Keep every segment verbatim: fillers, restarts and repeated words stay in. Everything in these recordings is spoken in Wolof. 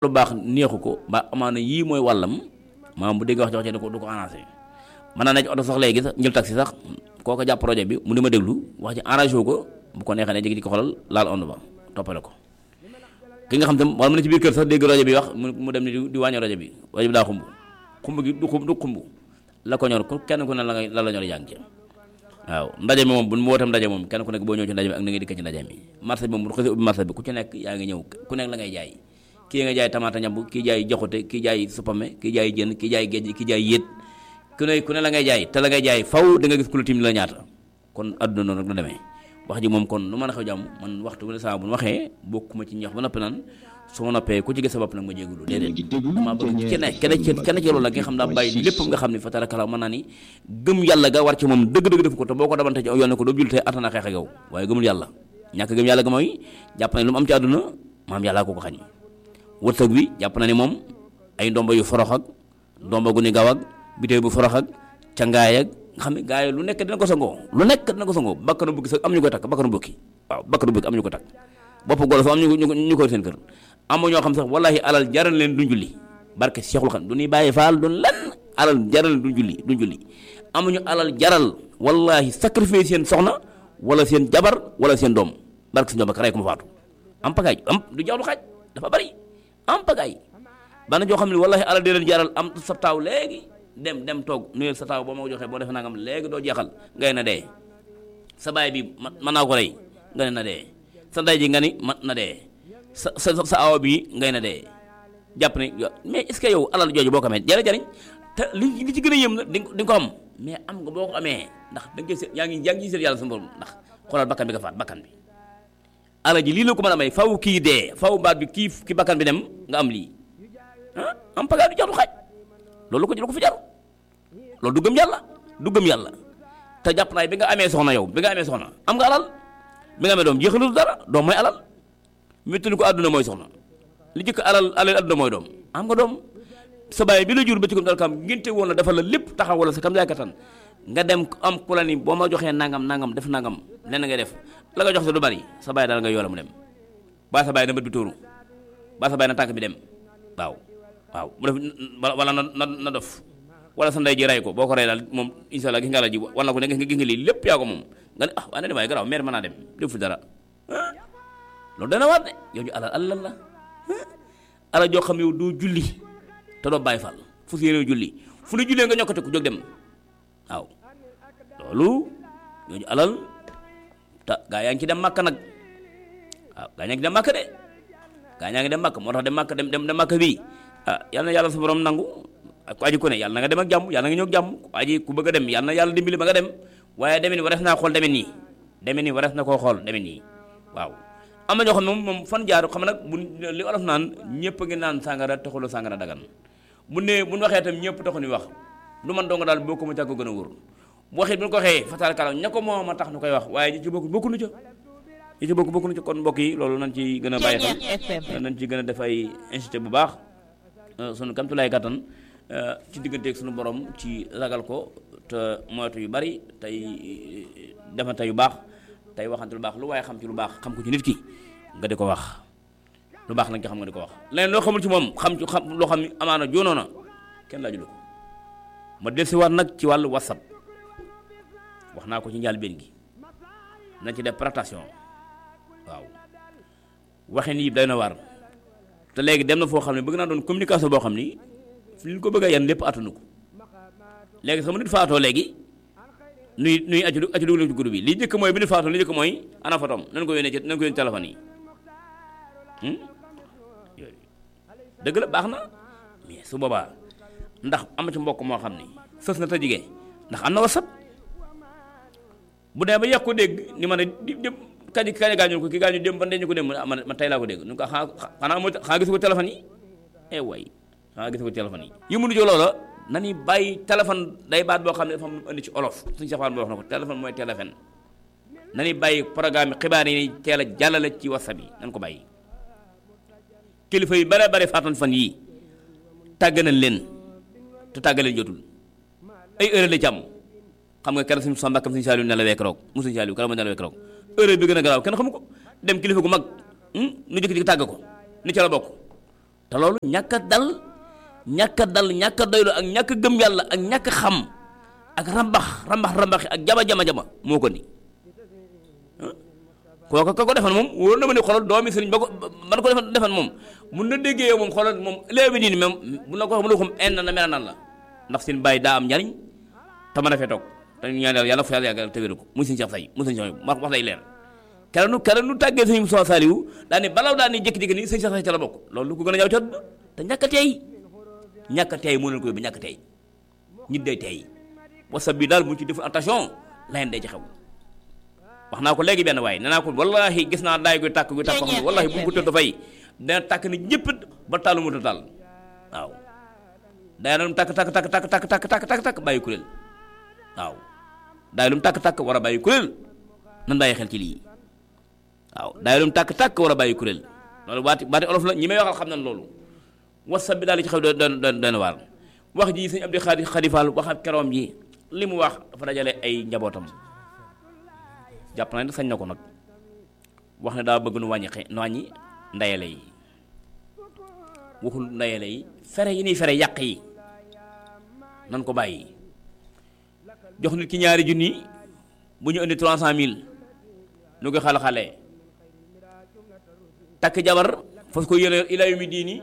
lu baax neexu ko ba amaana yii mooy wàllam maanaam bu dégg wax jox ci du ko du ko arrangé mën naa ne ci oto sax léegi sax njël taxi sax kooko jàpp projet bi mu di ma déglu wax ci arrangé wu ko bu ko neexee ne jigi di ko xoolal laal ond ba toppale ko ki nga xam tam wala mu ne ci biir kër sax dégg rajo bi wax mu dem ni di wàññi rajo bi rajo bi daa xumb xumb gi du xumb du xumb la ko ñor ku kenn ku ne la nga la la ñor yaa ngi ci waaw ndaje mi moom bu mu wootam ndaje moom kenn ku nekk boo ñëw ci ndaje mi ak na ngay dikk ci ndaje mi marché bi moom bu xasee ubbi marché bi ku ci nekk yaa ngi ñëw ku nekk la ngay jaay kii nga jaay tamaata ñamb kii jaay joxute kii jaay supame kii jaay jën kii jaay géej kii jaay yéet ku ne ku ne la ngay jaay te la ngay jaay faw da nga gis ku la tim la ñaata kon adduna noonu rek la demee wax ji moom kon nu mën a xew jàmm man waxtu bu ne saa bu ñu waxee bokkuma ci ñox ba noppi naan su ma noppee ku ci gis sa bopp nag ma jéegulu déedéet dama bëgg kenn kenn ci kenn ci loolu la nga xam daa bàyyi lépp nga xam ne fa tarakala mën naa ni gëm yàlla ga war ci moom dëgg-dëgg def ko te boo ko dabante ci yoon ne ko doo jullitee attana xeex ak yow waaye gëmul yàlla ñàkk gëm yàlla ga mooy jàpp ne lu mu am ci àdduna maam yàllaa ko ko xañ wërsëg bi jàpp na ni moom ay ndomba yu forox ak ndomba gu ni gaw ak bitéew bu forox ak cangaay ak nga xam ne gaa yi lu nekk dina ko sangoo lu nekk dina ko sangoo bakkanu bukki sax am ñu koy takk bakkanu bukki waaw bakkanu bukki am ñu ko takk bopp golo fa am ñu ñu ko seen kër am ñoo xam sax wallahi alal jaral leen duñ julli barke Seexul Xadiim du ñuy bàyyi faal duñ lan alal jaral leen duñ julli duñ julli amuñu alal jaral wallahi sacrifice seen soxna wala seen jabar wala seen doom barke si ñoom ak rey ko mu faatu am pagaay am du jaw lu xaaj dafa bari am pagaay bana joo xam ne wallahi alal di leen jaral am sa taaw léegi dem dem toog nuyel sa taaw boo ma ko joxee boo defee nangam léegi doo jeexal ngay na dee sa baay bi mën naa ko rey nga ne na dee sa ndey ji nga ni man na dee sa sa sa awa bi ngay na dee jàpp ne mais est-ce que yow alal jooju boo ko amee jëriñ jëriñ te li li ci gën a yëm na di nga ko am mais am nga boo ko amee ndax da nga koy seet yaa ngi yaa ngi seet yàlla sa borom ndax xoolal bakkan bi nga faat bakkan bi alal ji lii la ko mën a may faw kii dee faw baat bi kii ki bakkan bi dem nga am lii ah am pagaay du jaxlu xaaj loolu ko lu ko fi jar loolu du gëm yàlla du gëm yàlla te jàpp naay bi nga amee soxna yow bi nga amee soxna am nga alal bi nga amee doom jeexalul dara doom mooy alal métti ko àdduna mooy soxna li jëkk alal alal àdduna mooy doom am nga doom sa baay bi la jur ba ci kom dal kam ngénte woon la dafa la lépp taxaw wala sa kam yaay kattan nga dem am ku la ni boo ma joxee nangam nangam def nangam lenn ngay def la nga jox sa du bari sa baay daal nga yoola mu dem baa sa baay na bët bi tóoru baa sa baay na tànk bi dem waaw waaw mu def wala na na na dof wala sa ndey ji ray ko boo ko rey daal moom insha Allah gis nga la ji wala ko ne gis nga lii lépp yaa ko moom nga ne ah waa ne demaay garaaw meer mën naa dem defu dara loolu dana waat de yow ñu alal alal la alal joo xam yow doo julli te doo bàyyi fal fu si yéene julli fu ne jullee nga ñokkate ku jóg dem waaw loolu ñooñu alal te gaa yaa ngi ci dem màkk nag waaw gaa yaa ngi dem màkk de gaa yaa ngi dem màkk moo tax dem màkk dem dem dem màkk bii ah yal na yàlla sa borom nangu ku aji ko ne yàlla na nga dem ak jàmm yàlla na nga ñëw ak jàmm ku aji ku bëgg a dem yàlla na yàlla dimbali ba nga dem waaye demin ni warees naa xool demin nii demin nii warees na koo xool demin nii waaw am na ñoo xam ne moom moom fan jaar xam nag bu li olof naan ñëpp a ngi naan sàngara taxul sàngara dagan bu ne bu ñu waxee itam ñëpp taxu ni wax lu man dong daal boo ko mu càgg gën a wóor bu waxee bu ñu ko waxee fatal kala ña ko moom a tax nu koy wax waaye ñi ci bokk bokku nu ca ñi ci bokk bokku nu ca kon mbokk yi loolu nañ ci gën a bàyyi xel nañ ci gën a def ay incité bu baax sunu kamtulaay kattan ci digganteeg sunu borom ci ragal ko te moytu yu bari tey defante yu baax tey waxante lu baax lu waaye xam ci lu baax xam ko ci nit ki nga di ko wax lu baax lañ ci xam nga di ko wax leneen loo xamul ci moom xam ci xam loo xam ni amaana joonoo na kenn laaju ko ma dellusiwaat nag ci wàllu whatsapp wax naa ko ci njëlbéen gi nañ ci def prestation waaw waxin yi day na war te léegi dem na foo xam ne bëgg naa doon communication boo xam ni fi ñu ko bëgg a yan lépp attanu ko léegi sama nit faatoo léegi nuy nuy aju aju dugal ci groupe bi li njëkk mooy bi nit faatoo li njëkk mooy ana fotom nañ ko yónnee ci nañ ko yónnee téléphone yi yooyu dëgg la baax na mais su boobaa ndax am ci mbokk moo xam ni sës na te jigéen ndax am na whatsapp bu dee ba yàq ko dégg ni ma ne di dem kañ kañ gaañu ko ki gaañu dem ba ndeñu ko dem man man tey laa ko dégg nu ko xanaa xanaa moo xanaa gisu ko téléphone yi eh way xanaa gisu ko téléphone yi yi mënu jo loola na ni bàyyi téléphone day baat boo xam ne dafa am indi ci olof suñu safaan boo wax na ko téléphone mooy téléphone na ni bàyyi programme xibaar yi teel a jàllale ci whatsapp yi nan ko bàyyi kilifa yi bare bare faatan fan yii tàgg nañ leen te tàgg leen jotul ay heure la ci am xam nga keroog suñu sa mbàkkam suñu saaliw nelawee keroog mu suñu saaliw keroog ma nelawee keroog heure bi gën a garaaw kenn xamu ko dem kilifa gu mag nu jëkk-jëkk tàgg ko ni ca la bokk te loolu ñàkk a dal ñàkk a dal ñàkk a doylu ak ñàkk a gëm yàlla ak ñàkk a xam ak rambax rambax rambaxi ak jama jama jama moo ko ni kooku ka ko defan moom wóor na ma ne xoolal doomi sëriñ ba ko man ko defan defan moom mun na déggee yow moom xoolal moom léegi nii moom bu la ko wax mu ne ko en na mel nan la ndax seen bàyyi daa am njariñ te mën a fee toog te ñu ñaan yàlla fa yàlla yàggal te wéru ko muy sëñ Cheikh Say muy sëñ Cheikh wax wax lay leer keroog nu keroog nu tàggee sëñ Moussa Saliou daa ne balaw daa ne jékki-jékki nii sëñ Cheikh Say ca la bokk loolu lu ko gën a ñaaw ci àdduna te ñàkk a teey ñàkk a teey moo leen ko yóbbu ñàkk a teey nit day teey whatsapp bi daal mu ci def attention layen day ci xew wax naa ko léegi benn waaye nee naa ko wallahi gis naa daay guy tàkk guy tàkk xam ne wallahi bu mu ko tëdd fay dana tàkk ni ñëpp ba tàllu mu taal waaw daay na lu mu tàkk tàkk tàkk tàkk tàkk tàkk tàkk tàkk tàkk bàyyi kuréel waaw daay lu mu tàkk tàkk war a bàyyi kuréel nan bàyyi xel ci lii waaw daay lu mu tàkk tàkk war a bàyyi kuréel loolu baati baati olof la ñi may waxal xam nañ loolu whatsapp bi daal di ci xew doon doon doon waar wax ji sëñ Abdou Khadi Khadifal wax ak keroom ji li mu wax dafa dajale ay njabootam jàpp naa ne sañ na ko nag wax ne daa bëgg nu wàññi xe nu wàññi ndayale yi waxul ndayale yi fere yi nii fere yàq yi nan ko bàyyi jox nit ki ñaari junni bu ñu indi trois cent mille nu koy xale-xale takk jabar fas ko yéene ila yu mi diini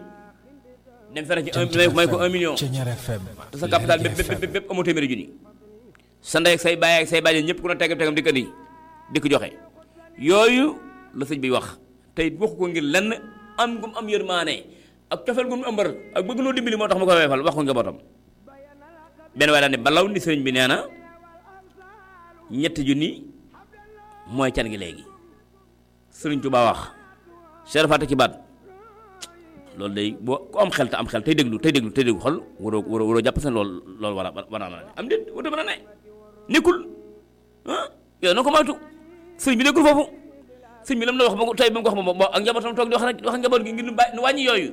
dem fere ci un may ko un million te sa capital bépp bépp bépp amoo téeméeri junni sa ndey ak say baay ak say bàjjen ñëpp ku ne tegam tegam di ko indi di ko joxe yooyu la sëñ bi wax tey waxu ko ngir lenn am gum am yërmaane ak cofeel gum ëmbar ak bëgg noo dimbali moo tax ma koy weefal wax ko njabootam benn waaye daal ne balaw ni sëriñ bi nee na ñetti junni mooy can gi léegi sëriñ Tuubaa wax Cheikh Fatou ci baat loolu day boo ku am xel te am xel tey déglu tey déglu tey déglu xol waroo waroo waroo jàpp seen loolu loolu war a war a mën a ne am déet warut a mën a ne nekkul ah yow na ko moytu sëñ bi nekkul foofu sëñ bi lam la wax ba ko tey ba mu ko wax moom ak njabootam toog di wax rek wax njaboot gi ngir nu bàyyi nu wàññi yooyu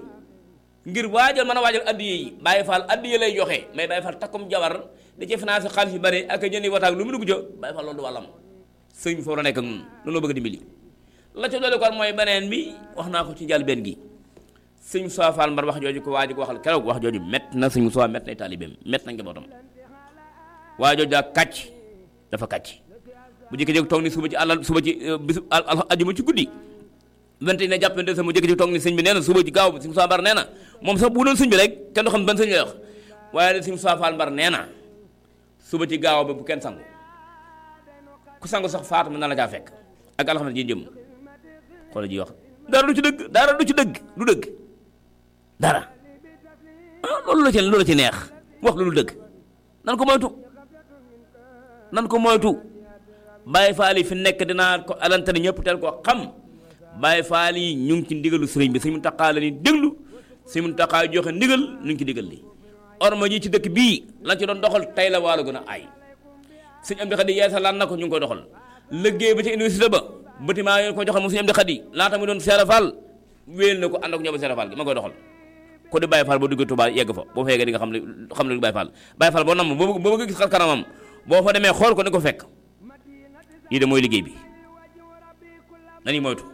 ngir waajal mën a waajal addiye yi Baye Fall addiye lay joxe mais Baye Fall takkum jabar da ci financé xaalis yu bari ak jëndi wataak lu mu dugg jo Baye Fall loolu du wàllam sëñ bi foofu la nekk ak ñun loolu bëgg a dimbali la ca doole kon mooy beneen bi wax naa ko ci njëlbéen gi sëñ Moussa Fall Mbar wax jooju ko waa ji ko waxal keroog wax jooju mett na sëñ Moussa mett na taalibeem mett na njabootam waa jooju daa kàcc dafa kàcc bu jékki-jékki toog ni suba ci àllal suba ci bisu ajuma ci guddi vingt et un jàppante sama jékki-jékki toog ni sëñ bi nee na suba ci gaaw bi sëñ Moussa Mbar nee na moom sax bu doon sëñ bi rek kenn du xam ban sëñ lay wax waaye sëñ Moussa Fall Mbar nee na suba ci gaaw bi bu kenn sangu ku sangu sax faatu mën na la caa fekk ak alxames ji jëm xoolal ji wax dara du ci dëgg dara du ci dëgg du dëgg dara ah loolu la ci loolu la ci neex wax lu dul dëgg nan ko moytu nan ko moytu Baye Fall yi fi nekk dinaa ko alantani ñëpp teel koo xam Baye Fall yi ñu ngi ci ndigalu sëriñ bi Sëriñ Muntaxa la ni déglu Sëriñ Muntaxa joxe ndigal ñu ngi ci digal li orma ji ci dëkk bii lañ ci doon doxal tey la waalo gën a aay sëñ Amdi Xadi yeesa laan na ko ñu ngi koy doxal liggéey ba ci université ba bâtiment yi ko joxal moom sëñ Amdi Xadi laata mu doon Seera Fall wéel na ko ànd ak ñoom Seera Fall gi ma koy doxal ko di Baye Fall boo duggee Touba yegg fa boo fa yeggee di nga xam ne xam ne Baye Fall Baye Fall boo nam boo boo bëgg gis xar kanamam boo fa demee xool ko ni ko fekk lii de mooy liggéey bi nañu moytu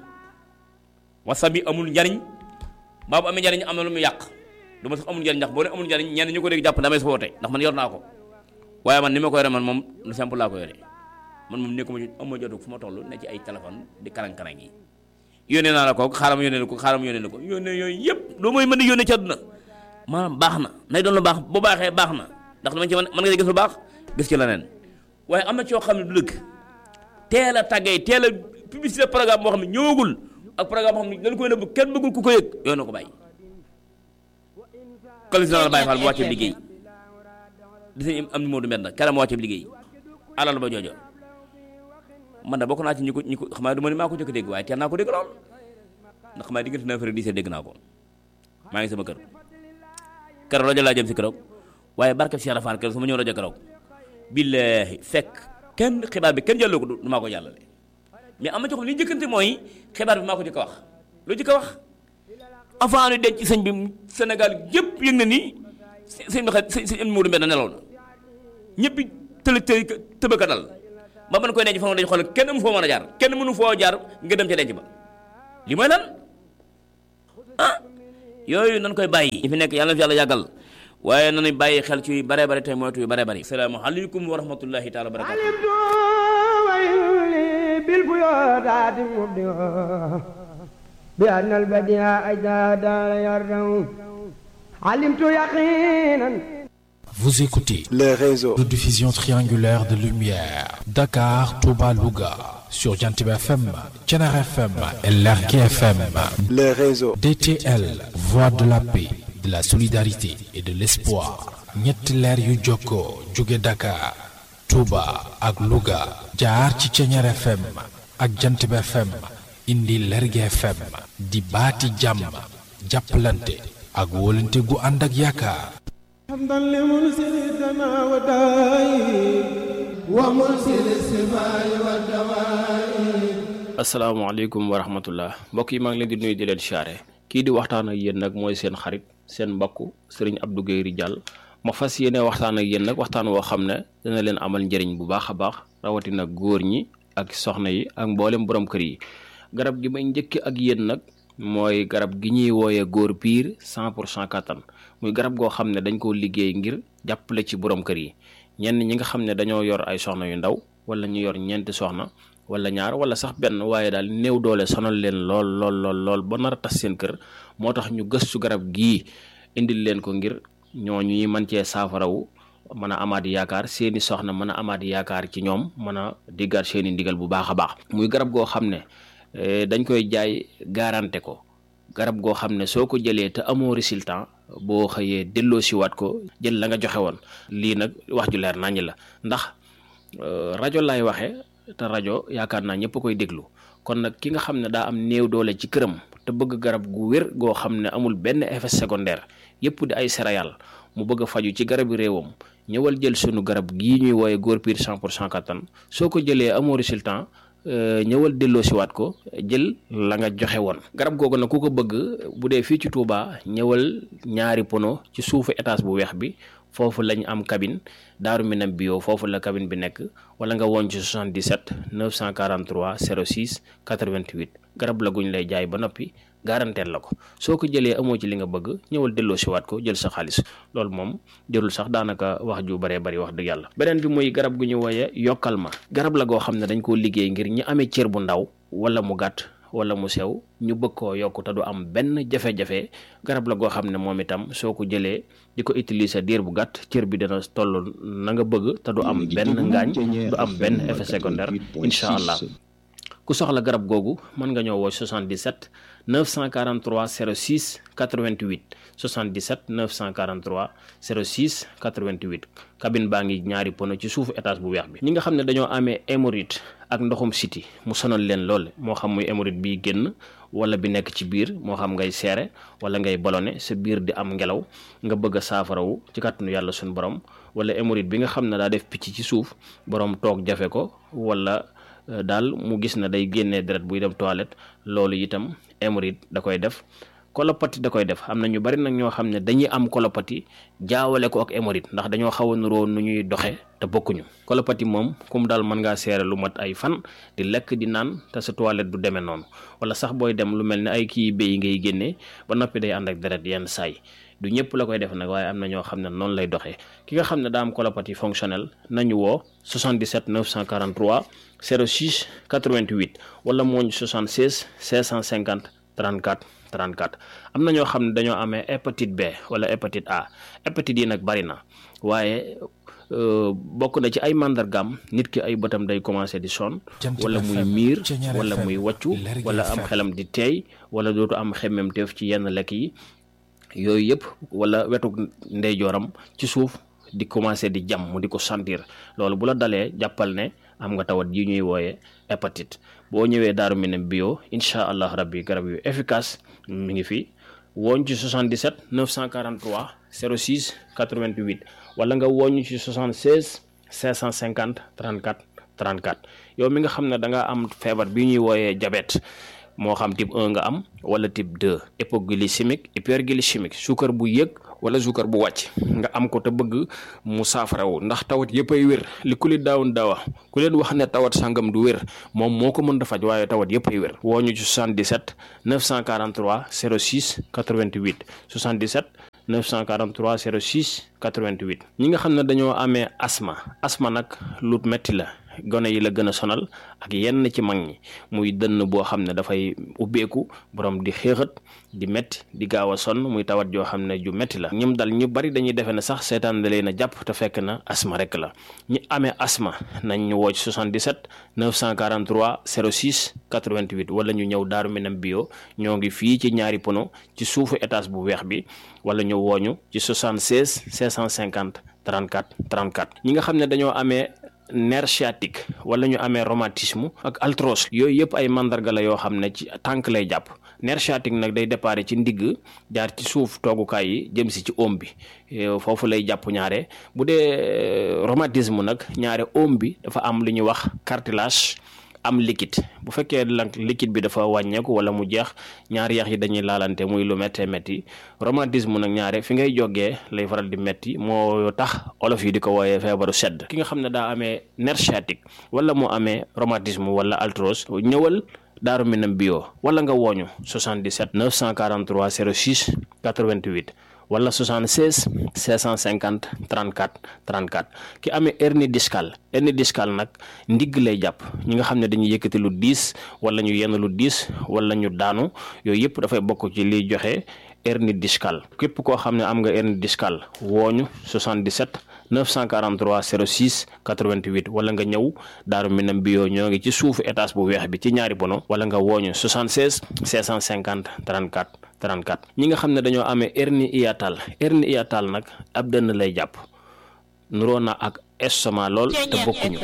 whatsapp bi amul njariñ baabu amee njariñ am na lu mu yàq du ma sax amul njariñ ndax boo ne amul njariñ ñenn ñu ko dégg jàpp damay soote ndax man yor naa ko waaye man ni ma ko yore man moom lu simple laa ko yore man moom nekkuma ci am ma jotu fu ma toll ne ci ay téléphone di karang-karang yi yónnee naa la ko xaaral ma yónnee la ko xaaral ma yónnee la ko yónnee yooyu yëpp loo mooy mën di yónnee ci àdduna maanaam baax na nay doon lu baax bu baaxee baax na ndax dama ci mën mën nga gis lu baax gis ci leneen waaye am na ci yoo xam ne du dëgg teel a tàggee teel a publicité programme boo xam ne ñëwagul ak programme boo xam ne dañ koy nëbb kenn bëggul ku ko yëg yooyu na ko bàyyi collecteur la Baye Fall bu wàccee liggéey di sañ am ni moo du mel na keram wàccee liggéey alal ba joojo man da bokk naa ci ñi ko ñi ko xam naa du ma ni maa ko jëkk dégg waaye teel naa ko dégg lool ndax xam naa diggante neuf heures dix heures dégg naa ko maa ngi sama kër keroog rajo laa jëm si keroog waaye barke Cheikh Rafal keroog su ma ñëw rajo keroog billaahi fekk kenn xibaar bi kenn jàlloo ko du maa ko jàllale mais am na ci xam li njëkkante mooy xibaar bi maa ko jëkk a wax lu jëkk a wax avant ñu denc ci sëñ bi Sénégal yëpp yëg na ni sëñ bi xa sëñ Modou Mbène nelaw na ñëpp tële tële tëbëka dal ba man koy denc fa dañu xool kenn mu foo mën a jaar kenn mënu foo jaar nga dem ca denc ba li mooy lan ah yooyu nañ koy bàyyi ñi fi nekk yàlla na fi yàlla yàggal waaye nañu bàyyi xel ci yu bare bare tey moytu yu bare bare assalaamu aleykum wa rahmatullahi taala wa barakatuh bil buyudat mubdi'a bi anna al badi'a ajada yardahu alimtu yaqinan. Vous écoutez les réseaux de diffusion triangulaire de lumière Dakar, Touba, Louga sur Jantiba F M, Thiénaba F M et Lergui F M. les réseaux D T L, voix de la paix, de la solidarité et de l'espoir. ñetti leer yu jokkoo jóge Dakar, Touba ak Louga jaar ci Thiénaba F M ak Jantiba F M indi Lergui F M di baati jàmm jàppalante ak wóolante gu ànd ak yaakaar. حمدا لمنزلنا وداي ومنزل السماء والدواء. asalaamaaleykum wa rahmatullah mbokk yi maa ngi leen di nuyu di leen siyaare kii di waxtaan ak yéen nag mooy seen xarit seen mbokk Serigne Abdou Guèye Ridial ma fas yéene waxtaan ak yéen nag waxtaan woo xam ne dina leen amal njëriñ bu baax a baax rawatina góor ñi ak soxna yi ak mboolem borom kër yi. garab gi may njëkk ak yéen nag mooy garab gi ñuy wooyee góor piir cent pour cent kattan muy garab goo xam ne dañ koo liggéey ngir jàppale ci borom kër yi ñenn ñi nga xam ne dañoo yor ay soxna yu ndaw wala ñu yor ñeenti soxna wala ñaar wala sax benn waaye daal néew doole sonal leen lool lool lool lool ba nar a tas seen kër moo tax ñu gëstu garab gii indil leen ko ngir ñooñu ñuy mën cee saafarawu mën a amaat yaakaar seeni soxna mën a amaat yaakaar ci ñoom mën a diggaat seeni ndigal bu baax a baax muy garab goo xam ne dañ koy jaay garanté ko garab goo xam ne soo ko jëlee te amoo résultat boo xëyee delloo siwaat ko jël la nga joxe woon lii nag wax ju leer naññ la ndax rajo lay waxee te rajo yaakaar naa ñëpp koy déglu kon nag ki nga xam ne daa am néew doole ci këram te bëgg garab gu wér goo xam ne amul benn effet secondaire yëpp di ay céréales mu bëgg a faju ci garabi réewam ñëwal jël sunu garab gii ñuy wooye góor piir cent pour cent kattan soo ko jëlee amoo résultat ñëwal delloo siwaat ko jël la nga joxe woon garab googu nag ku ko bëgg bu dee fii ci Touba ñëwal ñaari pono ci suufu étage bu weex bi foofu lañ am cabine Daaru Minam bio foofu la cabine bi nekk wala nga woon ci soixante-dix-sept neuf cent quarante-trois zéro six quatre-vingt-huit garab la guñ lay jaay ba noppi garanteel la ko soo ko jëlee amoo ci li nga bëgg ñëwal delloo siwaat ko jël sa xaalis loolu moom jërul sax daanaka wax ju baree bari wax dëgg yàlla. beneen bi muy garab gu ñu wooyee yokkal ma garab la goo xam ne dañ koo liggéey ngir ñi amee cër bu ndaw wala mu gàtt wala mu sew ñu bëgg koo yokk te du am benn jafe-jafe garab la goo xam ne moom itam soo ko jëlee di ko utiliser diir bu gàtt cër bi dana toll na nga bëgg te du am benn ngaañ du am benn effet secondaire incha allah. ku soxla garab googu mën nga ñëw woo soixante-dix-sept neuf cent quarante-trois zéro six quatre-vingt-huit soixante-dix-sept neuf cent quarante-trois zéro six quatre-vingt-huit cabine baa ngi ñaari pono ci suufu étage bu weex bi. ñi nga xam ne dañoo amee hémorroïde ak ndoxum siti mu sonal leen lool moo xam muy hémorroïde bi génn wala bi nekk ci biir moo xam ngay seere wala ngay ballonné sa biir di am ngelaw nga bëgg a saafarawu ci kàttanu yàlla suñu borom wala hémorroïde bi nga xam ne daa def picc ci suuf borom toog jafe ko wala daal mu gis na day génnee deret buy dem toilette loolu itam hémorroïde da koy def colopathie da koy def am na ñu bari nag ñoo xam ne dañuy am colopathie jaawale ko ak hémorroïde ndax dañoo xaw a nuroo nu ñuy doxe te bokkuñu colopathie moom comme daal mën ngaa seere lu mat ay fan di lekk di naan te sa toilette du demee noonu wala sax booy dem lu mel ne ay kii béy ngay génnee ba noppi day ànd ak deret yenn saay du ñëpp la koy def nag waaye am na ñoo xam ne noonu lay doxee ki nga xam ne daa am colopathie fonctionnelle nañu woo soixante-dix-sept neuf cent quarante-trois zéro six quatre-vingt-huit wala mooñ soixante-seize cinq cent cinquante trente-quatre trente-quatre am na ñoo xam ne dañoo amee hépatite B wala hépatite A hépatite yi nag bari na waaye bokk na ci ay màndargaam nit ki ay bëtam day commencé di sonn wala muy miir wala muy wàccu wala am xelam di teey wala dootu am xemmemteef ci yenn lekk yi yooyu yëpp wala wetu ndeyjooram ci suuf di commencé di jam mu di ko sentir loolu bu la dalee jàppal ne am nga tawat yi ñuy wooyee hépatite boo ñëwee Daaru Minam bio incha allah rabbi garab yu efficace mi ngi fi wooñ ci soixante-dix-sept neuf cent quarante-trois zéro six quatre-vingt-huit wala nga wooñ ci soixante-seize cinq cent cinquante trente-quatre trente-quatre yow mi nga xam ne da nga am feebar bi ñuy wooyee diabète moo xam type un nga am wala type deux hypoglycémique hyperglycémique suukar bu yëg wala suukar bu wàcc nga am ko te bëgg mu saafarawu ndax tawat yëpp ay wér li ku li daawun daawa ku leen wax ne tawat sangam du wér moom moo ko mën da faj waaye tawat yëpp ay wér woo ñu ci soixante-dix-sept neuf cent quarante-trois zéro six quatre-vingt-huit soixante-dix-sept neuf cent quarante-trois zéro six quatre-vingt-huit ñi nga xam ne dañoo amee asma asma nag lu metti la gone yi la gën a sonal ak yenn ci mag ñi muy dënn boo xam ne dafay ubbeeku borom di xéexat di metti di gaaw a sonn muy tawat joo xam ne ju metti la ñim dal ñu bari dañuy defe ne sax seetaan da leen a jàpp te fekk na asma rek la ñi amee asma nañ ñu woo ci soixante-dix-sept neuf cent quarante-trois zéro six quatre-vingt-huit wala ñu ñëw Daaru Minam bio ñoo ngi fii ci ñaari pono ci suufu étage bu weex bi wala ñu wooñu ci soixante-seize cinq cent cinquante trente-quatre trente-quatre ñi nga xam ne dañoo amee nerf sciatique wala ñu amee rhumatisme ak arthrose yooyu yëpp ay mandarga la yoo xam ne ci tànk lay jàpp nerf sciatique nag day déparé ci ndigg jaar ci suuf toogukaay yi jëm si ci oom bi foofu lay jàpp ñaare bu dee rhumatisme nag ñaare oom bi dafa am lu ñuy wax cartilage am liquide bu fekkee nag liquide bi dafa wàññeeku wala mu jeex ñaari yax yi dañuy laalante muy lu méttee métti rhumatisme nag ñaare fi ngay jógee lay faral di métti moo tax olof yi di ko wooyee feebaru sedd ki nga xam ne daa amee nerf sciatique wala mu amee rhumatisme wala arthrose ñëwal Daaru Minam bio wala nga wooñu soixante-dix-sept neuf cent quarante-trois zéro six quatre-vingt-huit wala soixante-seize cinq cent cinquante trente-quatre trente-quatre ki amee hernie discale hernie discale nag ndigg lay jàpp ñi nga xam ne dañuy yëkkati lu diis wala ñu yenn lu diis wala ñu daanu yooyu yëpp dafay bokk ci liy joxe hernie discale képp koo xam ne am nga hernie discale wooñu soixante-dix-sept neuf cent quarante-trois zéro six quatre-vingt-huit wala nga ñëw Daaru Minam bio ñoo ngi ci suufu étage bu weex bi ci ñaari bono wala nga wooñu soixante-seize cinq cent cinquante trente-quatre trente-quatre ñi nga xam ne dañoo amee hernie hiatale hernie hiatale nag ab dënn lay jàpp nuroo na ak estomac lool te bokkuñu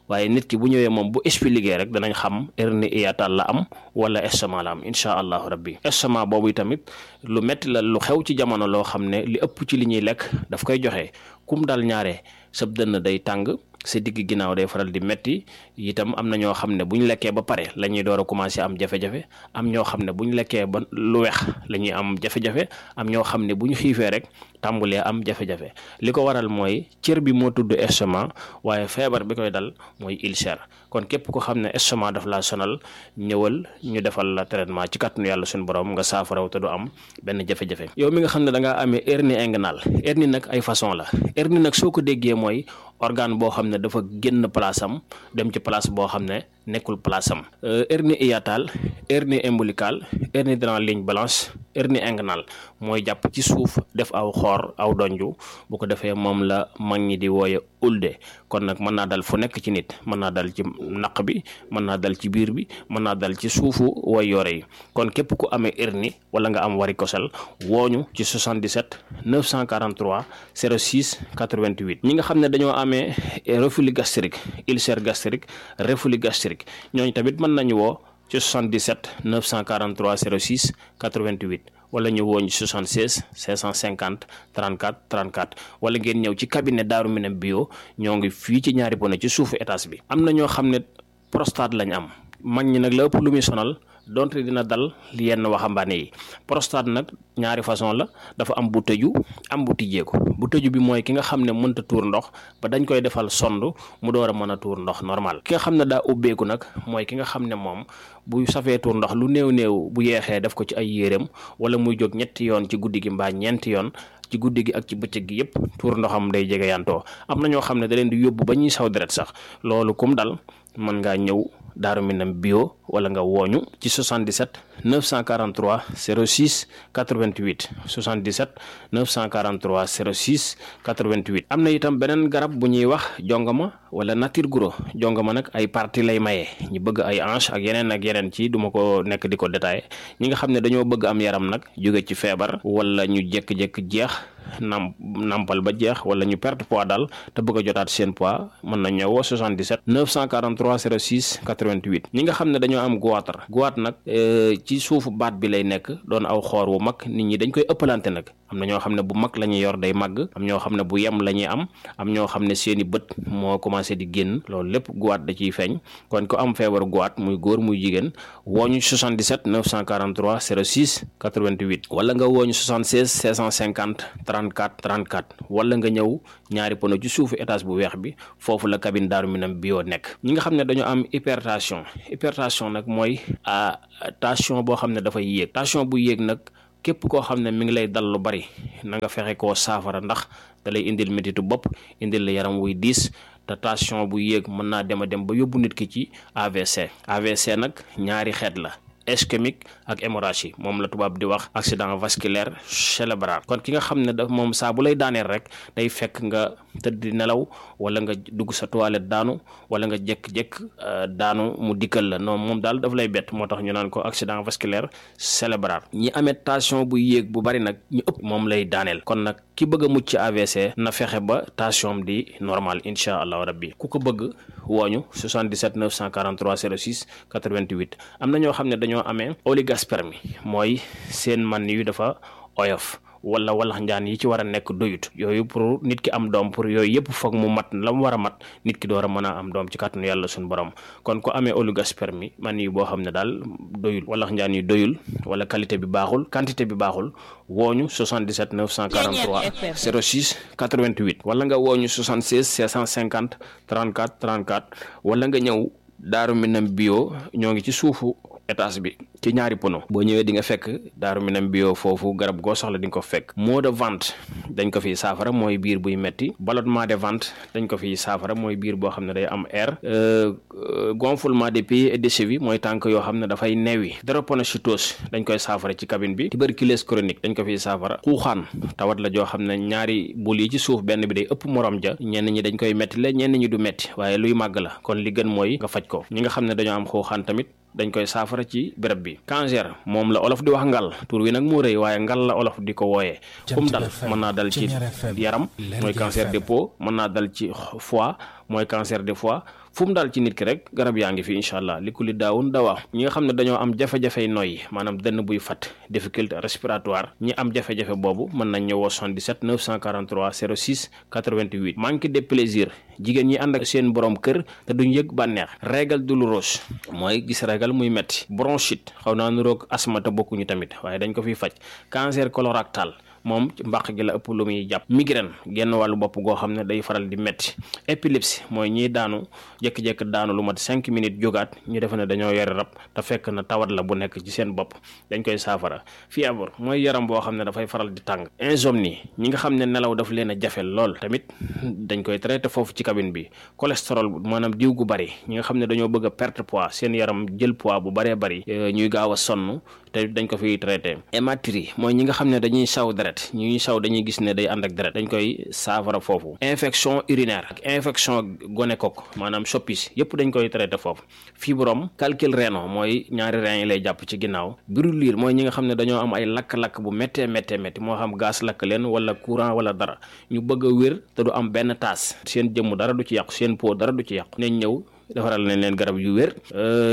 waaye nit ki bu ñëwee moom bu expliqué rek danañ xam hernie hiatale la am wala estomac la am incha allahu rabbi estomac boobu tamit lu metti la lu xew ci jamono loo xam ne li ëpp ci li ñuy lekk daf koy joxe kum dal ñaare sab dënn day tàng sa digg ginnaaw day faral di metti itam am na ñoo xam ne bu ñu lekkee ba pare la ñuy door a commencé am jafe-jafe am ñoo xam ne bu ñu lekkee ba lu weex la ñuy am jafe-jafe am ñoo xam ne bu ñu xiifee rek tàmbulee am jafe-jafe li ko waral mooy cër bi moo tudd estomac waaye feebar bi koy dal mooy ulcère kon képp ko xam ne estomac daf laa sonal ñëwal ñu defal la traitement ci kàttanu yàlla suñu borom nga saafaraw te du am benn jafe-jafe yow mi nga xam ne da ngaa amee hernie inguinale hernie nag ay façon la hernie nag soo ko déggee mooy organe boo xam ne dafa génn place am dem ci place boo xam ne nekkul place am hernie hiatale hernie ombilicale hernie dans la ligne blanche hernie inguinale mooy jàpp ci suuf def aw xoor aw donju bu ko defee moom la mag ñi di wooye ulde kon nag mën naa dal fu nekk ci nit mën naa dal ci naq bi mën naa dal ci biir bi mën naa dal ci suufu way yore yi kon képp ku amee hernie wala nga am varicocèle wooñu ci soixante-dix-sept neuf cent quarante-trois zéro six quatre-vingt-huit ñi nga xam ne dañoo amee reflux gastrique ulcère gastrique reflux gastrique ñooñu tamit mën nañu woo ci soixante-dix-sept neuf cent quarante-trois zéro six quatre-vingt-huit wala ñu woo ñu soixante-seize cinq cent cinquante trente-quatre trente-quatre wala ngeen ñëw ci cabinet Daaru Minam bio ñoo ngi fii ci ñaari bono ci suufu étage bi. am na ñoo xam ne prostate lañ am mag ñi nag la ëpp lu muy sonal donte dina dal yenn waxambaane yi prostate nag ñaari façon la dafa am bu tëju am bu tijjeeku bu tëju bi mooy ki nga xam ne mënta tuur ndox ba dañ koy defal sond mu door a mën a tuur ndox normal ki nga xam ne daa ubbeeku nag mooy ki nga xam ne moom bu safee tuur ndox lu néew néew bu yeexee def ko ci ay yéreem wala muy jóg ñetti yoon ci guddi gi mbaa ñeenti yoon ci guddi gi ak ci bëccëg gi yëpp tuur ndoxam day jege yantoo am na ñoo xam ne da leen di yóbbu ba ñuy saw deret sax loolu kum dal mën ngaa ñëw Daaru Minam bio wala nga wooñu ci soixante-dix-sept neuf cent quarante-trois zéro six quatre-vingt-huit soixante-dix-sept neuf cent quarante-trois zéro six quatre-vingt-huit am na itam beneen garab bu ñuy wax jongama wala nature guro jongama nag ay partie lay maye ñu bëgg ay hanche ak yeneen ak yeneen ci duma ko nekk di ko détaillé ñi nga xam ne dañoo bëgg am yaram nag jóge ci feebar wala ñu jékki-jékki jeex nam nampal ba jeex wala ñu perte poids daal te bëgg a jotaat seen poids mën na ñëwoo soixante-dix-sept neuf cent quarante-trois zéro six quatre-vingt-huit ñi nga xam ne dañoo am goitre goitre nag ci suufu baat bi lay nekk doon aw xoor wu mag nit ñi dañ koy ëppalante nag am na ñoo xam ne bu mag la ñuy yor day màgg am ñoo xam ne bu yem la ñuy am am ñoo xam ne seeni bët moo commencé di génn loolu lépp goitre da ciy feeñ kon ko am feebaru goitre muy góor muy jigéen wooñu soixante-dix-sept neuf cent quarante-trois zéro six quatre-vingt-huit wala nga wooñu soixante-seize cinq cent cinquante trente trente-quatre trente-quatre wala nga ñëw ñaari pono ci suufu étage bu weex bi foofu la cabine Daaru Minam bio nekk. ñi nga xam ne dañoo am hypertension hypertension nag mooy a tension boo xam ne dafay yéeg tension bu yéeg nag képp koo xam ne mi ngi lay dal lu bari na nga fexe koo saafara ndax da lay indil métitu bopp indil la yaram wuy diis te tension bu yéeg mën naa dem a dem ba yóbbu nit ki ci A V C A V C nag ñaari xeet la ischémique ak hémorragie moom la tubaab di wax accident vasculaire cérébral kon ki nga xam ne daf moom saa bu lay daaneel rek day fekk nga tëdd di nelaw wala nga dugg sa toilette daanu wala nga jékk-jékk daanu mu dikkal la non moom daal daf lay bett moo tax ñu naan ko accident vasculaire cérébral ñi amee tension bu yéeg bu bari nag ñu ëpp moom lay daaneel kon nag ki bëgg a mucc ci A V C na fexe ba tension di normal incha allahu rabbi ku ko bëgg wooñu soixante-dix-sept neuf cent quarante-trois zéro six quatre-vingt-huit am na ñoo xam ne dañoo amee oligospermie mooy seen man yu dafa oyof wala walax njaan yi ci war a nekk doyut yooyu pour nit ki am doom pour yooyu yëpp foog mu mat la mu war a mat nit ki door a mën a am doom ci kàttanu yàlla suñu borom kon ko amee oligospermie man yi boo xam ne daal doyul walax njaan yi doyul wala qualité bi baaxul quantité bi baaxul wooñu soixante-dix-sept neuf cent quarante-trois zéro six quatre-vingt-huit wala nga wooñu soixante-seize cinq cent cinquante trente-quatre trente-quatre wala nga ñëw Daaru Minam bio ñoo ngi ci suufu étage bi ci ñaari pono boo ñëwee di nga fekk Daaru Minam bio foofu garab goo soxla di nga ko fekk maux de ventre dañ ko fiy saafara mooy biir buy metti ballonnement de ventre dañ ko fiy saafara mooy biir boo xam ne day am air gonflement des pieds et des chevilles mooy tànk yoo xam ne dafay neewi drépanocytose dañ koy saafara ci cabine bi tuberculose chronique dañ ko fiy saafara xuuxaan tawat la joo xam ne ñaari bul yi ci suuf benn bi day ëpp morom ja ñenn ñi dañ koy metti la ñenn ñi du metti waaye luy màgg la kon li gën mooy nga faj ko ñi nga xam ne dañoo am xuuxaan tamit dañ koy saafara ci béréb bi cancer moom la olof di wax ngal tur wi nag moo rëy waaye ngal la olof di ko wooyee kum dal mën naa dal ci yaram mooy cancer de peau mën naa dal ci foie mooy cancer de foie fu mu daal ci nit ki rek garab yaa ngi fi incha allah li ku li daawun dawaa ñi nga xam ne dañoo am jafe-jafey noyyi maanaam dënn buy fat difficulté respiratoire ñi am jafe-jafe boobu mën nañ ñëwoo soixante-dix-sept neuf cent quarante-trois zéro six quatre-vingt-huit manque de plaisir jigéen ñi ànd ak seen borom kër te duñ yëg bànneex règle douloureuse mooy gis règle muy metti bronchite xaw naa nuroog asthme te bokkuñu tamit waaye dañ ko fiy faj cancer colorectal moom ci mbàq gi la ëpp lu muy jàpp migraine genn wàllu bopp goo xam ne day faral di metti épilepsie mooy ñiy daanu jékki-jékki daanu lu mat cinq minutes jógaat ñu defe ne dañoo yore rab te fekk na tawat la bu nekk ci seen bopp dañ koy saafara fièvre mooy yaram boo xam ne dafay faral di tàng insomnie ñi nga xam ne nelaw daf leen a jafe lool tamit dañ koy traité foofu ci cabine bi cholestérol maanaam diw gu bari ñi nga xam ne dañoo bëgg a perte poids seen yaram jël poids bu baree bari ñuy gaaw a sonn te dañ ko fiy traité hématurie mooy ñi nga xam ne dañuy saw deret ñuy saw dañuy gis ne day ànd ak deret dañ koy saafara foofu infection urinaire ak infection gonocoque maanaam soppis yëpp dañ koy traité foofu fibrome calcul rénal mooy ñaari rein yi lay jàpp ci ginnaaw brûlure mooy ñi nga xam ne dañoo am ay lakk-lakk bu méttee méttee métti moo xam gaz lakk leen wala courant wala dara ñu bëgg a wér te du am benn taas seen jëmm dara du ci yàqu seen peau dara du ci yàqu nañ ñëw defaral nañ leen garab yu wér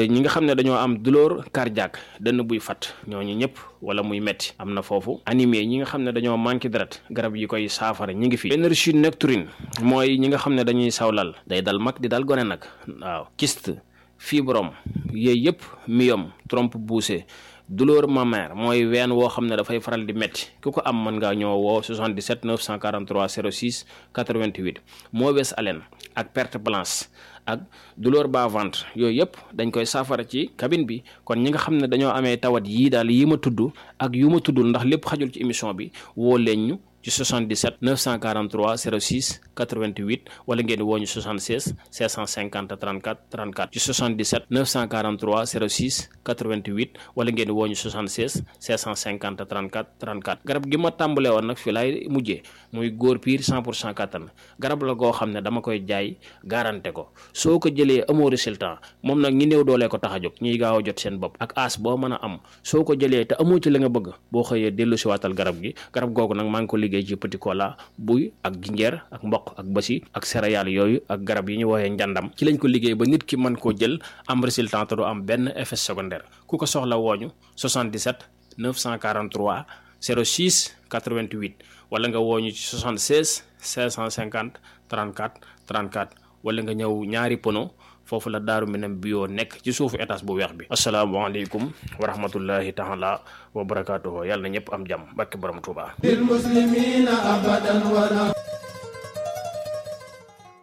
ñi nga xam ne dañoo am douleur cardiaque dënn buy fat ñooñu ñëpp wala muy metti am na foofu anémie ñi nga xam ne dañoo manqué deret garab yi koy saafara ñi ngi fi énergie nocturne mooy ñi nga xam ne dañuy sawlal day dal mag di dal gone nag waaw kyste fibrome yooyu yëpp myome trompe poussée douleur mammaire mooy ween woo xam ne dafay faral di métti ku ko am mën ngaa ñëw woo soixante-dix-sept neuf cent quarante-trois zéro six quatre-vingt-huit mauvaise haleine ak perte blanche ak douleur bas ventre yooyu yëpp dañ koy saafara ci cabine bi kon ñi nga xam ne dañoo amee tawat yii daal yi ma tudd ak yu ma tuddul ndax lépp xajul ci émission bi woo leen ñu ci soixante-dix-sept neuf cent quarante-trois zéro six quatre-vingt-huit wala ngeen woo ñu soixante-seize cinq cent cinquante trente-quatre trente-quatre ci soixante-dix-sept neuf cent quarante-trois zéro six quatre-vingt-huit wala ngeen woo ñu soixante-seize cinq cent cinquante trente-quatre trente-quatre garab gi ma tàmbalee woon nag fi laay mujjee muy góor piir cent pour cent kattan garab la goo xam ne dama koy jaay garanté ko soo ko jëlee amoo résultat moom nag ñi néew doolee ko tax a jóg ñiy gaaw a jot seen bopp ak as boo mën a am soo ko jëlee te amoo ci la nga bëgg boo xëyee dellu si waatal garab gi garab googu nag maa ngi ko liggéey ci petit cola buy ak jinjeer ak mboq ak basi ak céréales yooyu ak garab yi ñu woowee njàndam ci lañ ko liggéey ba nit ki mën koo jël am résultat te du am benn effet secondaire ku ko soxla wooñu soixante-dix-sept neuf cent quarante-trois zéro six quatre-vingt-huit wala nga wooñu ci soixante-seize cinq cent cinquante trente-quatre trente-quatre wala nga ñëw ñaari pono foofu la Daaru Minam bio nekk ci suufu étage bu weex bi. asalaamaaleykum wa rahmatullahi taala wa barakaatuhu yàlla na ñëpp am jàmm barke borom Tuuba.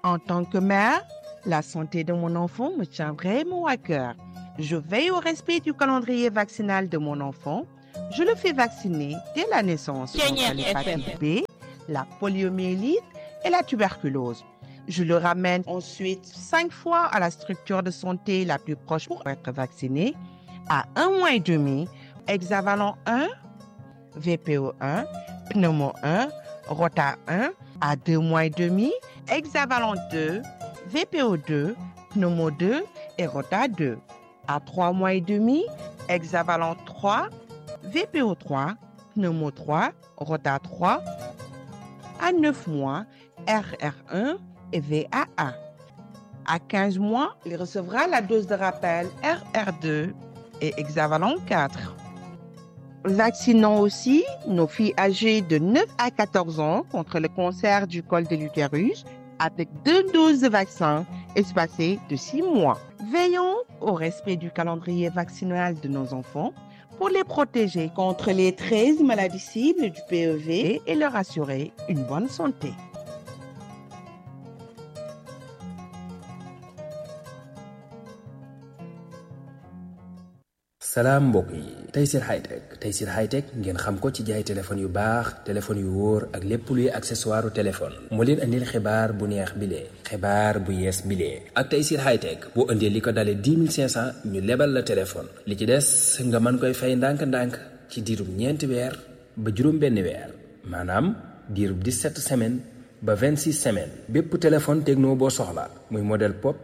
En tant que mère, la santé de mon enfant me tient vraiment à cœur. Je veille au respect du calendrier vaccinal de mon enfant. Je le fais vacciner dès la naissance contre l'hépatite B, la poliomyélite et la tuberculose. Je le ramène ensuite cinq fois à la structure de santé la plus proche pour être vacciné. À un mois et demi, hexavalent un, V P O un, pneumo un, rota un. À deux mois et demi, hexavalent deux, V P O deux, pneumo deux et rota deux. À trois mois et demi, hexavalent trois, V P O trois, pneumo trois, rota trois. À neuf mois, R R un et V A un. À quinze mois, il recevra la dose de rappel R R deux et hexavalent quatre. Vaccinons aussi nos filles âgées de neuf à quatorze ans contre le cancer du col de l'utérus avec deux doses de vaccin espacées de six mois. Veillons au respect du calendrier vaccinal de nos enfants pour les protéger contre les treize maladies cibles du P E V et leur assurer une bonne santé. salaam mbokk yi Tayssir Hightech Tayssir Hightech ngeen xam ko ci jaay téléphone yu baax téléphone yu wóor ak lépp luy accessoire téléphone moo leen andil xibaar bu neex bile xibaar bu yees bile ak Tayssir Hightech boo indee li ko dalee dix mille cinq cent ñu lebal la téléphone li ci des nga mën koy fay ndànk-ndànk ci diirub ñeenti weer ba juróom benn weer maanaam diirub dix-sept semaines ba vingt-six semaines bépp téléphone Tecno boo soxla muy modèle Pop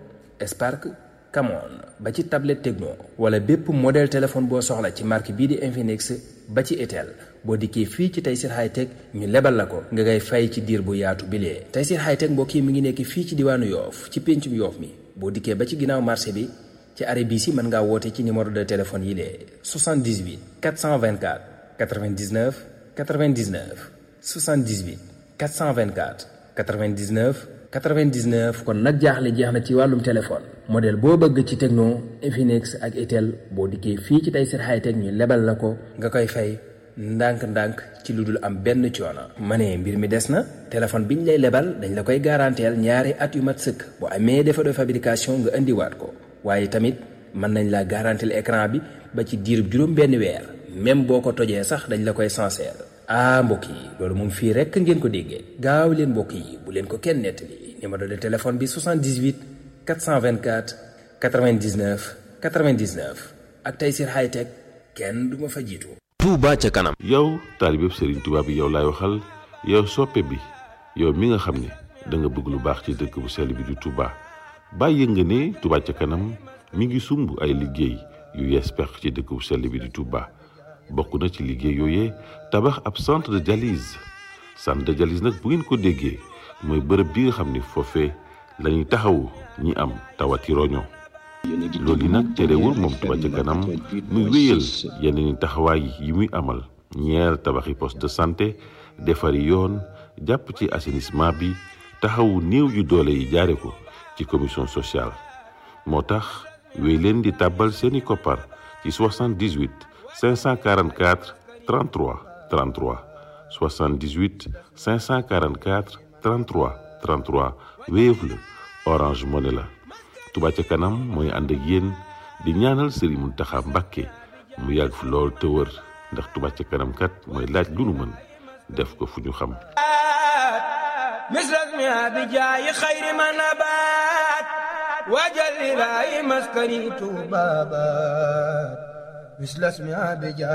Spark Camon ba ci tablette Tecno wala bépp modèle téléphone boo soxla ci marque bii di Infinix ba ci Itel boo dikkee fii ci Tayssir Hightech ñu lebal la ko nga ngay fay ci diir bu yaatu bilee Tayssir Hightech mbokk yi mi ngi nekk fii ci diwaanu Yoof ci péncum Yoof mi boo dikkee ba ci ginnaaw marché bi ci arrêt bii si mën ngaa woote ci numéro de téléphone yi lee soixante-dix-huit quatre cent vingt-quatre quatre-vingt-dix-neuf quatre-vingt-dix-neuf soixante-dix-huit quatre cent vingt-quatre quatre-vingt-dix-neuf quatre-vingt-dix-neuf kon nag jaaxle jeex na ci wàllum téléphone modèle boo bëgg ci Tecno Infinix ak Itel boo dikkee fii ci Tayssir Hightech ñu lebal la ko nga koy fay ndànk-ndànk ci lu dul am benn coono. ma ne mbir mi des na téléphone biñ lay lebal dañ la koy garanteel ñaari at yu mat sëkk bu amee défaut de fabrication nga indiwaat ko waaye tamit mën nañ la garanteel écran bi ba ci diirub juróom benn weer même boo ko tojee sax dañ la koy sincère. ah mbokk yi loolu moom fii rekk ngeen ko déggee gaaw leen mbokk yi bu leen ko kenn nettali numéro de téléphone bi soixante-dix-huit quatre cent vingt-quatre quatre-vingt-dix-neuf quatre-vingt-dix-neuf ak Tayssir Hightech kenn du ma fa jiitu. Touba ca kanam. yow taalibe Serigne Touba bi yow laay waxal yow soppe bi yow mi nga xam ne da nga bëgg lu baax ci dëkk bu sell bi di Touba bàyyi nga ne Touba ca kanam mi ngi sumb ay liggéey yu yees pex ci dëkk bu sell bi di Touba. bokk na ci liggéey yooyee tabax ab centre de dialyse centre de dialyse nag bu ngeen ko déggee mooy bërëb bi nga xam ni foofee la ñuy taxawu ñi am tawati roño loolu yi nag terewul moom Touba ca kanam muy wéyal yeneen taxawaay yi muy amal ñeer tabaxi poste de santé defari yoon jàpp ci assainissement bi taxawu néew yu doole yi jaare ko ci commission sociale moo tax wéy leen di tàbbal seeni koppar ci soixante-dix-huit cinq cent quarante-quatre trente-trois trente-trois soixante-dix-huit cinq cent quarante-quatre trente-trois trente-trois Wave la Orange Money la Touba ca kanam mooy ànd ak yéen di ñaanal Serigne Mountakha Mbacké mu yàgg fi lool te wër ndax Touba ca kanam kat mooy laaj lu nu mën def ko fu ñu xam misras mi abijaayi xayri ma nabaat wajal ilaahi maskani tuubabaat misras mi abijaayi